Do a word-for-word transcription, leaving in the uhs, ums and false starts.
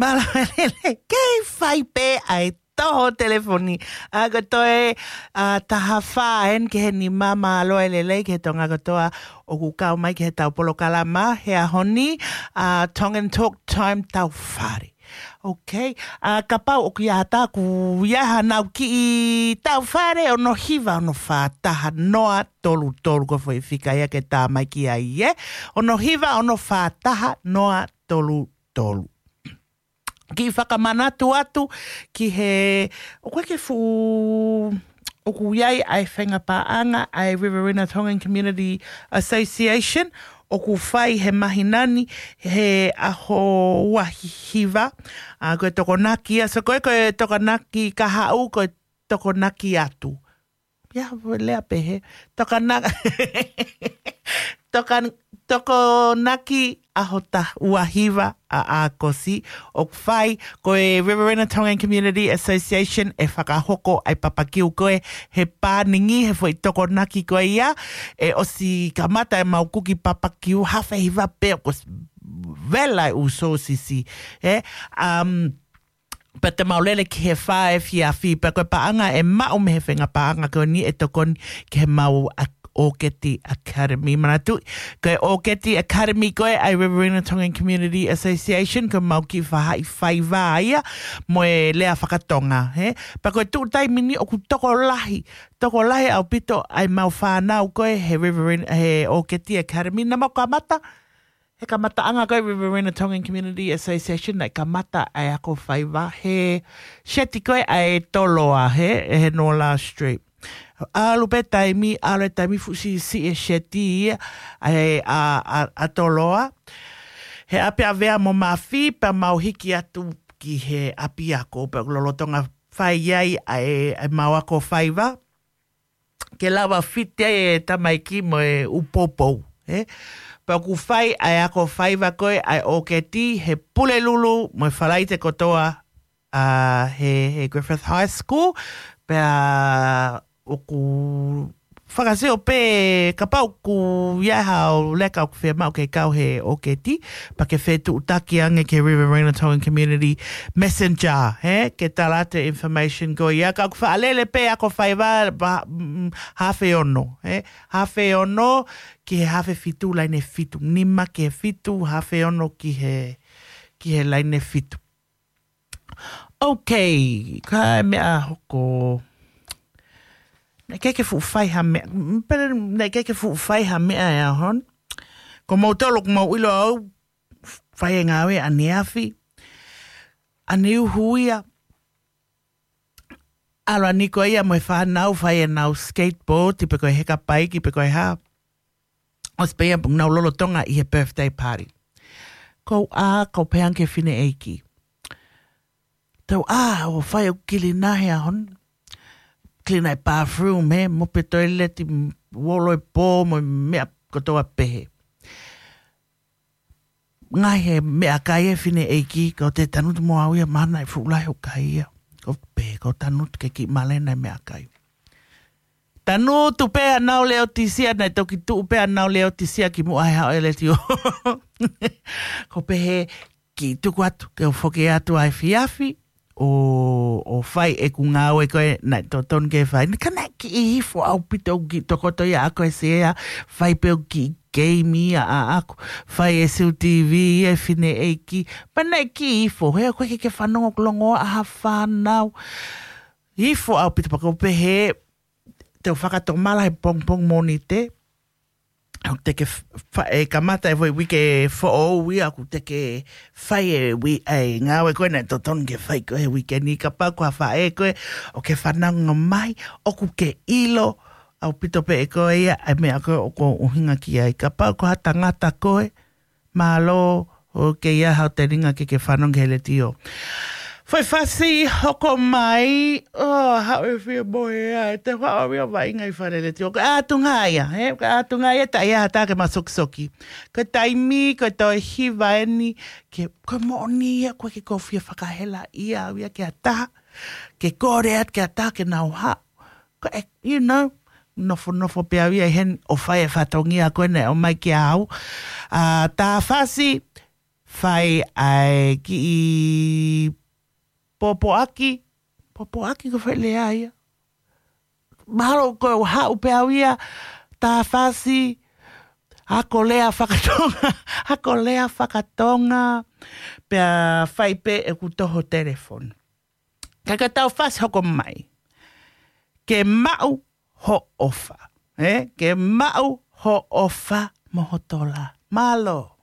Mālō e lelei, kei fai pē ʻa e toho telefoni. ʻA, ko e toe, ʻa, taha fā eni ki he nima, mālō e lelei ki he Tonga kotoa ʻoku kau mai ki heʻetau polokalama he ʻaho ni, ʻa, Tongan Talk Time Tau Fare. Ok, ʻa, kapau ʻoku ʻi ai ha taha ʻoku ʻi ai haʻanau kiʻi tau fare, ono hiva ono fā taha noa tolu tolu, ko e foʻi fika ia ke tā mai ki ai, ē? Ono hiva ono fā taha noa tolu tolu. Kiʻi fakamanatu atu ki he, ʻoku ʻi ai e fuʻu, ʻoku ʻi ai ʻa e faʻahinga paʻanga ʻa e Riverina Tongan Community Association, ʻoku fai he māhina ni he ʻaho ua hiva, ʻa, ko e Tokonaki, ʻa, so ko e, ko e Tokonaki kahaʻu, ko e Tokonaki atu. Ia, lea pehē. Tokana-, tokan-, Tokonaki ʻaho ta-, ua hiva ʻa ʻAokosi, ʻoku fai, ko e Riverina Tongan Community Association ʻe fakahoko ʻa e papakiu ko ē he pāningi, he foʻi Tokonaki ko ia, ʻe ʻosi kamata ʻemau kuki papakiu, hafe hiva pē kuo ʻosi vela e ʻū sōsisi, ē? Um, pea te mau lele ki he fā efiafi, pea ko e paʻanga ʻe maʻu mei he faʻahinga paʻanga ko eni ʻe tokoni ki heʻemau a-, ʻOketi Academy. Manatuʻi, ko e ʻOketi Academy ko ē ʻa e Riverina Tongan Community Association, ko ʻemau kiʻi faʻahi faiva ia mo e lea fakatonga, ē? Pea ko e tuʻu taimi ni ʻoku tokolahi, tokolahi ʻaupito ʻa ʻemau fānau ko ē he Riverina, he ʻOketi Academy, naʻa mau kamata he kamataʻanga ko ē Riverina Tongan Community Association, naʻe kamata ʻa e ako faiva he seti ko ē ʻa e Toloa, he, he Nola Street. ʻAlu pē taimi, ʻalu e taimi, fuʻu siʻisiʻi e seti ia ʻa e, ʻa, ʻa, ʻa Toloa. He ʻapiʻavea mo Mafi, pea mau hiki atu ki he ʻapiako, pea ʻoku lolotonga fai ai ʻa e, ʻa ʻemau ako faiva ke lava fiti ai e tamaiki mo e ʻū poupou, ē? Pea ʻoku fai ʻa e ako faiva ko ē ʻa e ʻOketi he Pulelulu mo e Falaite kotoa, ʻa, he, he Griffith High School, pea ʻoku fakasio pē kapau ʻoku ʻi ai haʻo leka ʻoku fiemaʻu ke kau he ʻOketi, pea ke fetuʻutaki ange ki he Riverina Tongan Community Messenger, ē, ke tala atu e information ko ia. Ka ʻoku faʻa lele pē ako faiva, pa, mm, hafe ono, ē, hafe ono ki he hafe fitu, laine fitu, nima ki he fitu, hafe ono ki he, ki he laine fitu. Ok, ka e meʻa hoko. Naʻe ʻikai ke fuʻu fai ha meʻa, mm, pele, naʻe ʻikai ke fuʻu fai ha meʻa he ʻaho ni. Ko moutolu ʻoku mou ʻilo au, fai e ngāue ʻaneafi, ʻaneuhu ia, ʻalu ʻaniko ia mo e fānau fai ʻenau skateboard, pe ko e heka paiki, pe ko e hā. ʻOsi pē ia ʻoku nau lolotonga ʻi he birthday party. Ko au ʻa, ko e pehē ange ki he fineʻeiki. Tau ʻā, ʻo fai ʻo kilina he ʻaho ni. Kilina e bathroom, ē, mope toileti, uolo e pō, mo e meʻa kotoa pehē. Ngaahi he meʻakai e fineʻeiki, ka ʻoku te tangutu mo au ia, mahalo naʻe fuʻu lahi hoʻo kai ia. Ko pē, ko e tangutu ke kiʻi malena e meʻakai. Tangutu pē ʻenau leotisia, naʻe toki tuʻu pē ʻenau leotisia kimuʻa he haʻu e letiō. Ko e pehē, kiʻi tuku atu, ke u foki atu ʻaefiafi, ʻo, ʻo fai ʻeku ngāue ko ē naʻe totonu ke fai. Ka naʻe kiʻi ifo ʻaupito ʻeku kiʻi tokoto ia ʻaʻaku he sea, fai pē ʻeku kiʻi keimi ia ʻaʻaku, fai e siu TV e fineʻeiki, pea naʻe kiʻi ifo, he ʻoku ʻikai ke ke fanongo ʻoku longoaʻa ha fānau. Ifo ʻaupito pea ko e pehē, te u fakatomala he pongipongi Mōnite, ʻoku te ke f-, fa-, ʻe kamata e foʻi uike foʻou ia, ʻoku te ke fai e ui-, e ngāue ko ē naʻe totonu ke fai ko ē he uike ni, kapau ko ha faʻē koe ʻoku ke fanongo mai, ʻoku ke ʻilo ʻaupito pē ʻe koe ia, ʻa e meʻa ko ē ʻoku ou ʻuhinga ki ai. Kapau ko ha tangata koe, mālō, ʻoku ʻikai haʻo telinga ke ke fanongo ki he letiō. Foʻi fasi hoko mai, ʻo, haʻu e fie mohe ē, te u haʻu au ia ʻo vaʻinga ʻi fale letiō. Ko e ʻātunga ia, ē? Ko e ʻātunga ia, taʻe ʻi ai ha taha ke masokisoki. Ko e taimi, ko e toe hiva eni, ke, ko e moʻoni ia, ʻoku ʻikai ke u fie fakahelaʻia au ia ki ha taha, ke kole atu ki ha taha ke nau haʻu. Ko e, you know, nofonofo pē au ia ʻi heni ʻo fai e fatongia ko ē naʻe ʻomai kia au. ʻA, tā fasi, fai ʻa e kiʻi pōpoaki, pōpoaki ko e foʻi lea ia. Mahalo ko e haʻu pē au ia, tā fasi, ako lea fakatonga, ako lea fakatonga, pea fai pē ʻeku toho telefoni. Ka ka tau fasi hoko mai. Ke maʻu hoʻo ʻofa. Eh? Ke maʻu hoʻo ʻofa mo ho tola. Mālō.